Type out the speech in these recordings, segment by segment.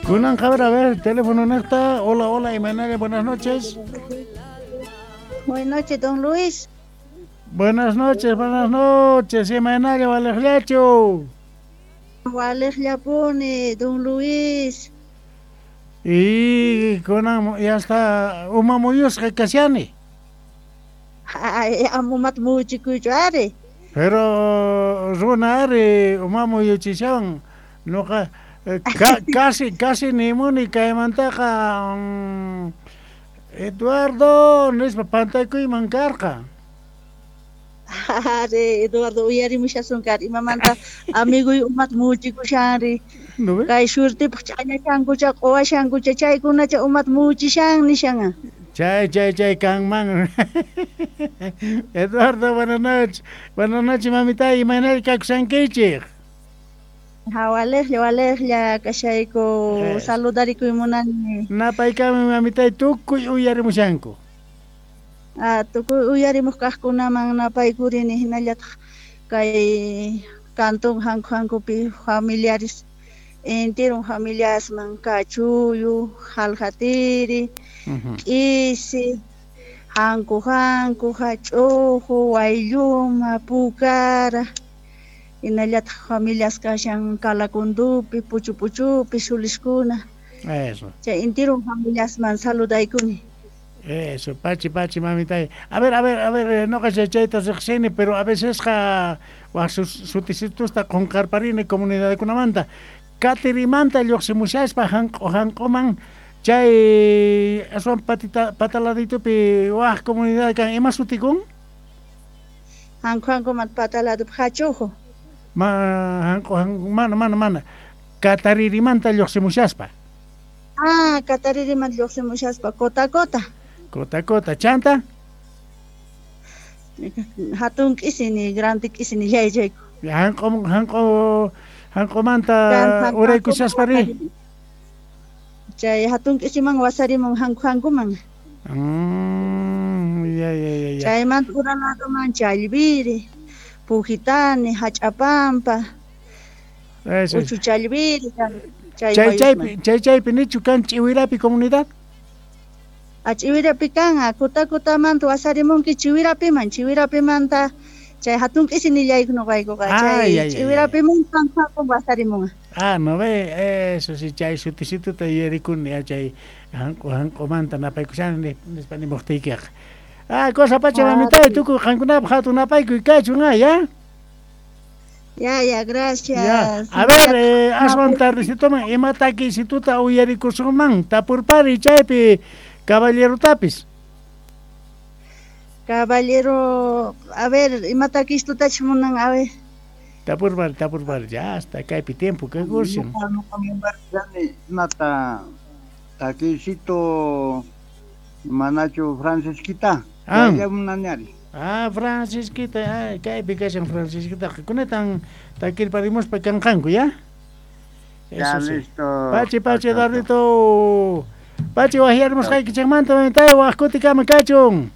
Kunan a ver, teléfono nesta. Hola, hola, Imanaya, buenas noches. Buenas noches, don Luis. Buenas noches, Imanaya, Valejlacho. Valejllapuni, don Luis. Y kunan ya está uma muyusqa kashani. Ay, amumat muchikuychu ari. Pero runa ari uma muyuchishawan noqa casi casi nimuni kaymantaqa Eduardo nispa pantaykuyman karqa. Ari, Eduardo uyarimushasun kar imamanta amiguy umat muchikushanri. Kay suertipaq ch'añashankucha q'uwashankucha chaykunacha umat muchishan nishan. Chay, chay, chay, kanman. Eduardo, buenas noches. Buenas noches, mamita. Imaynalla kakushankichik? Ha, walejlla, walejlla kashayku saludarikuy munani. Napaykami mamitay tukuy uyarimushanku. Ah, tukuy uyarimuq kaqkunaman napaykurini hinallataq kay cantón hanku hankupi familiares enteron familiasman Kachuyu, Jaljatiri, K'isi, Hanku Hanku, Hach'uju, Waylluma, Pukara, hinallataq familias kashan Kalacundupi, Puchu Puchupi, Suliskuna. Eso. Chay enteron familiasman saludaykuni. Eso, pachi, pachi, mamitay. A ver, a ver, a ver, noqa chayta riqsini, pero a veces qa waj sutisitusta qunqarparini comunidadkunamanta. Katirimanta lluqsimushaspa hanq'u hanq'uman chay aswan patita pataladitupi waj comunidad kan ima sutikun? Hanqu hanquman pataladupi Hachuju. Ma hanq'u hanqu mana mana mana Kataririmanta lluqsimushaspa. Ah, Kataririmanta lluqsimushaspa Cota Cota. Cota Cota, chanta? Hatun k'isini, grande k'isini llaychayku. Hanq'u hanq'u hanq'umanta uraykushaspa ri. Chay hatun k'isiman wasarimun hanku hankuman. Ya, ya, ya, ya. Chaymanta uraladuman Challviri, Pujitani, Hach'apampa, Eso. Uchu Challviri, chay Chay mayusman. chaypi chay chaypi nichu kan Ch'iwirapi comunidad? A Ch'iwirapi kan, a Cota Cotamanta wasarimunki Ch'iwirapiman, Ch'iwirapimanta chay hatun k'isi nillayku noqaykuqa, Ah, chay ya, ya, ya. Ch'iwirapiman hanku wasarimunqa. Ah, no ve, eso sí, chay sutisituta yuyarikuni, ya chay hanq'u hanq'umanta napaykushani nispa nimuqtiykiqa. Ah, cosa pacha Ah, mamitay, tukuy qankunapaq hatun napaykuy kachun, ah, ya. Ya, ya, gracias. Ya. A ver, aswan tardecitoman ima takisituta uyarikusunman, tapurpari chaypi caballerotapis. Caballero, a ver, ima takistutach munan, a ver. Tapurpari, tapurpari, ya hasta kaypi tiempo kakushan. Imata takisito manachu Francisquita. Ah. Ya munani ari. Ah, Francisquita, ah, kaypi kashan Francisquita. Kunetan takirparimuspa kanqanku, ya? Ya Eso sí. listo. Pachi, pachi, Eduardito. Pachi, wajyarimusqaykichikmanta mamitay, waj kutikama kachun.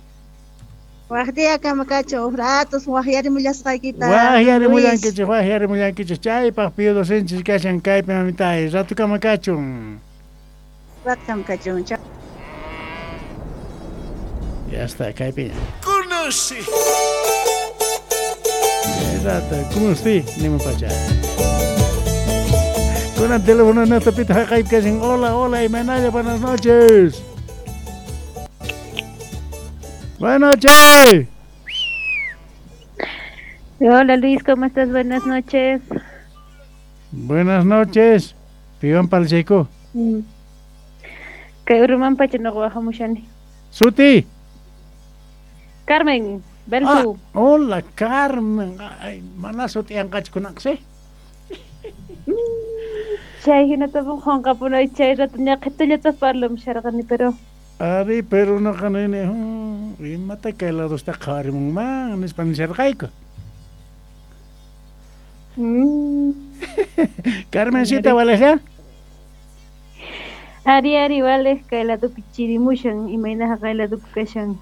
Waj diyakama kachun, uj ratos wajyarimullasqaykita. Wajyarimullankichik, wajyarimullankichik. Chaypaq pío docenchis kashan kaypi mamitay, ratukama kachun. Ratukama kachun. Chao. Ya está, kaypi. Conoce. Rato, ¿cómo estoy? Ni pacha. Con el teléfono en esta pita kaypi kashan. Hola, hola, Imanaya, buenas noches. Buenas noches. Hola Luis, ¿cómo estás? Buenas noches. Buenas noches. Piwan Palcheco. Kay Uruman pacha no wajamushani. Suti. Carmen, Belsu. Ah, hola Carmen. Ay, mana suti anqachkunaqsi. Chay hinatapun qunqapunay chay rato ñaqhitullata parlamusharqani, pero Ari, pero noqa nini, imata kay ladosta qhawarimunman nispa nisharqayku. Carmencita, ¿vale? Ari, ari, vale, kay ladopi chirimushan, imaynaqa kay ladopi kashan.